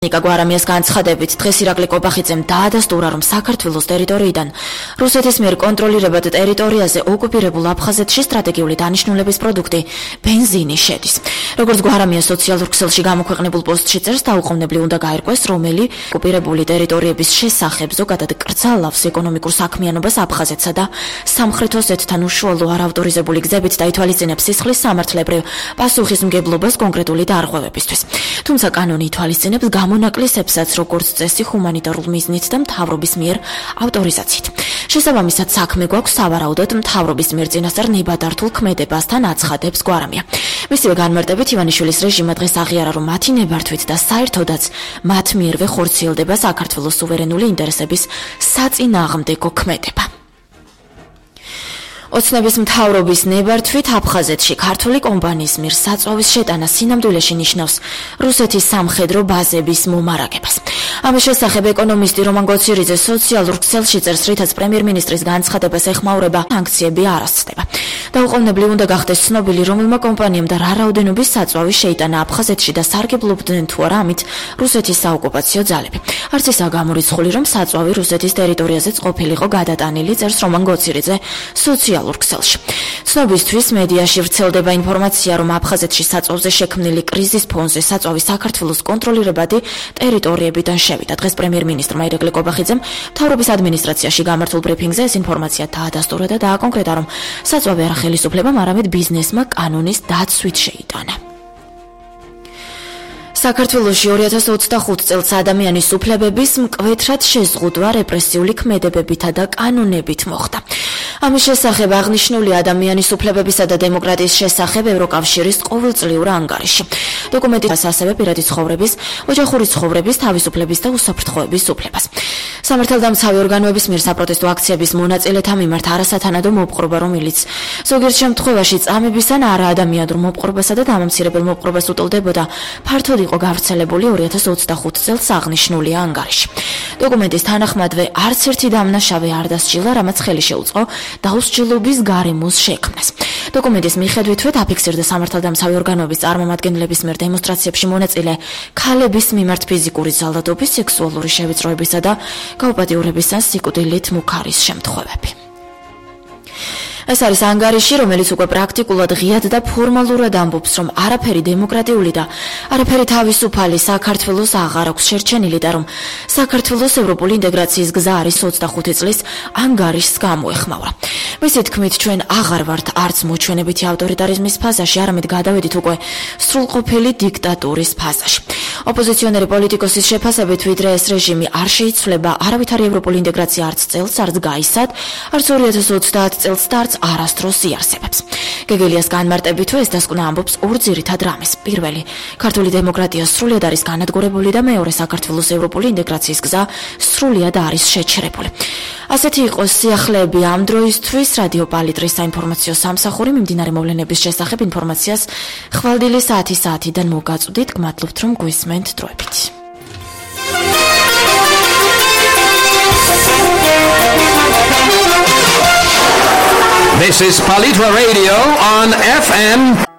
ნიკა გვარამიას განცხადებით, დღეს ირაკლი კობახიძემ დაადასტურა, რომ საქართველოს ტერიტორიიდან რუსეთის მიერ კონტროლირებად ტერიტორიაზე ოკუპირებულ აფხაზეთში სტრატეგიული დანიშნულების პროდუქტი ბენზინი შედის. როგორც გვარამია სოციალურ ქსელში გამოქვეყნებულ პოსტში წერს, დაუყოვნებლი უნდა გაერკვეს, რომელი ოკუპირებული ტერიტორიების შესახებ ზოგადად კრძალავს ეკონომიკურ საქმიანობას აფხაზეთსა და სამხრეთ ოსეთთან უშუალო არაავტორიზებული გზებით დაითვალისწინებს სისხლის სამართლებრივ პასუხისმგებლობას კონკრეტული დარღვევებისთვის. თუმცა კანონი ითვალისწინებს მონაკლისებსაც, როგორც წესი, ჰუმანიტარულ მიზნით და მთავრობის მიერ ავტორიზაციით. შესაბამისად, საქმე გვაქვს სავარაუდოდ მთავრობის მიერ წინასწარ ნებადართულ ქმედებასთან აცხადებს გვარამია. მისივე განმარტებით, ივანიშვილის რეჟიმმა დღეს აღიარა, რომ მათი ნებართვით და საერთოდაც მათ მიერვე ხორციელდება საქართველოს სუვერენული ინტერესების საწინააღმდეგო ქმედება. ოცნების მთავრობის ნებართვით აფხაზეთში ქართული კომპანიის მიერ საწვავის შეტანა სინამდვილეში ნიშნავს რუსეთის სამხედრო ბაზების მომარაგებას. ამის შესახებ ეკონომისტი რომან გოცირიძე სოციალურ ქსელში წერს, რითაც პრემიერ-მინისტრის განცხადებას ეხმაურება სანქციები არ ასწდება. დაუყოვნებლი უნდა გახდეს ცნობილი, რომელმა კომპანიამ და რა რაოდენობის საწვავი შეიტანა აფხაზეთში და სარგებლობდნენ თუ არა ამით რუსეთის საოკუპაციო ძალები. არც ისაა გამორიცხული, რომ საწვავი რუსეთის ტერიტორიაზეც ყოფილიყო გადატანილი, წერს რომან გოცირიძე სოციალურ ქსელში. ცნობისთვის მედიაში ვრცელდება ინფორმაცია, რომ აფხაზეთში საწვავზე შექმნილი კრიზის ფონზე საწვავი საქართველოს კონტროლირებადი ტერიტორიებიდან შევიდა. დღეს პრემიერ-მინისტრმა ირაკლი კობახიძემ მთავრობის ადმინისტრაციაში გამართულ ბრიფინგზე ეს ინფორმაცია დაადასტურა და დააკონკრეტა, რომ საწვავი არა ხელისუფლებამ, არამედ ბიზნესმა კანონის დაცვით შეიტანა. საქართველოში 2025 წელს ადამიანის უფლებების მკვეთრად შეზღუდვა რეპრესიული ქმედებებითა და კანონებით მოხდა. ამის შესახებ აღნიშნული ადამიანის უფლებებისა და დემოკრატიის შესახებ ევროკავშირის ყოველწლიურ ანგარიში. დოკუმენტის ასევე პირადი ცხოვრების, ოჯახური ცხოვრების, თავისუფლების და უსაფრთხოების უფლებას. სამართალდამცავი ორგანოების მიერ საპროტესტო აქციების მონაწილეთა მიმართ არასათანადო მოპყრობა, რომელიც ზოგიერთ შემთხვევაში წამების ან არაადამიანურ მოპყრობასა და დამამცირებელ მოპყრობას უტოლდებოდა, ფართოდ იყო გავრცელებული 2025 წელს აღნიშნული ანგარიში. დოკუმენტის თანახმადვე არც ერთი დამნაშავე არ დასჯილა, რამაც ხელი შეუწყო დაუსჯილობის გარემოს შექმნას. დოკუმენტის მიხედვითვე დაფიქსირდა სამართალდამცავი ორგანოების წარმომადგენლების მიერ დემონსტრაციებში მონაწილე ქალების მიმართ ფიზიკური ძალადობის, სექსუალური შევიწროებისა და გაუპატიურების ან სიკვდილით მუქარის შემთხვევები. ეს არის ანგარიში, რომელიც უკვე პრაქტიკულად ღიად და ფორმალურად ამბობს, რომ არაფერი დემოკრატიული და არაფერი თავისუფალი საქართველოს აღარ აქვს შერჩენილი და რომ საქართველოს ევროპული ინტეგრაციის გზა არის 25 წლის ანგარიშს გამოეხმაურა. მისი თქმით, ჩვენ აღარ ვართ არც მოჩვენებითი ავტორიტარიზმის ფაზაში, არამედ გადავედით უკვე სრულყოფილი დიქტატურის ფაზაში. ოპოზიციონერი პოლიტიკოსის შეფასებით, ვიდრე ეს რეჟიმი არ შეიცვლება, არავითარი ევროპული ინტეგრაცია არც წელს, არც გაისად, არც 2030 წელს და არც არასდროს იარსებებს. გეგელიას განმარტებით, ეს დასკვნა ამბობს ორ ძირითად რამეს. პირველი, ქართული დემოკრატია სრულად არის განადგურებული და მეორე, საქართველოს ევროპული ინტეგრაციის გზა სრულად არის შეჩერებული. ასეთი იყო სიახლეები ამ დროისთვის. რადიო პალიტრის საინფორმაციო სამსახური მიმდინარე მოვლენების შესახებ ინფორმაციას ხვალდილი საათიდან მოგაწვდით. გმადლობთ, რომ გვისმენთ დროებით. This is Palitra Radio on FM